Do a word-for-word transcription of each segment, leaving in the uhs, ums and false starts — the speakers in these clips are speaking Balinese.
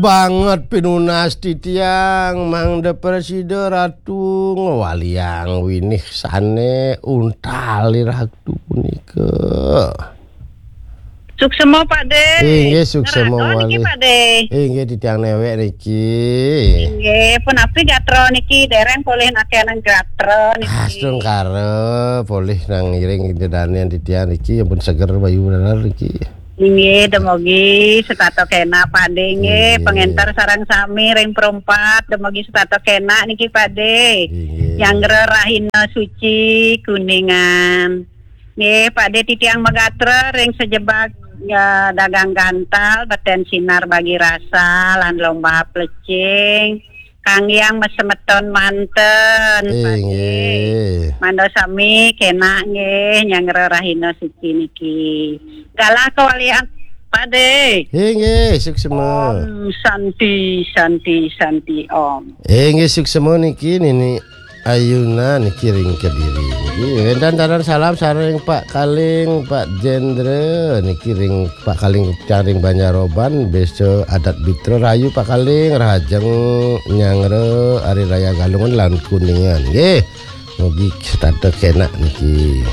banget pinunas titiang, mangda prasida Ratu ngwaliang winih sane untal Ratu punika. Suksema, Pak De. Inggih, suksema. Ngrasa niki, malih, Pak De. Inggih, titiang newek niki. Inggih, punapi gatra niki, dereng polih nakenan gatra niki. Astungkara, polih nang iring dedanen titiang niki, ampun seger bayu bener niki. Inggih, demogi setata kenak, Pak De, nggih. Inggih. Pengenter sareng sami ring perempat, demogi setata kenak niki, Pak De. Inggih. Nyanggra rahina suci Kuningan. Nggih, Pak De, titiang magatra ring sajebag, ya, dagang gantal, beten sinar bagi rasa, lan lomba plecing, kanggiang masemeton manten, Pak De. Inggih. Mangda sami kenak nggih, nyanggra rahina suci niki. Galah kawalian, Pak De. Inggih, suksema. Om Santi, Santi, Santi, Om. Inggih, suksema niki, Nini Ayuna niki ring Kediri. Niki wénten taran salam sareng Pak Kaling, Pak Jendra niki ring Pak Kaling, Caring Banjaroban, Besa Adat Bitra, rahayu Pak Kaling, rahajeng nyanggra Hari Raya Galungan lan Kuningan. Nggih, mugi setata kenak niki.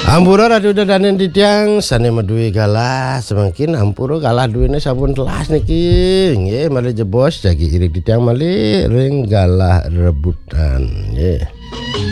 Ampura Ratu Danen titiang sane maduwe galah, semangkin ampura galah duwene sampun telas niki. Nggih, malih jebos jagi iring titiang malih ring galah rebutan. Nggih.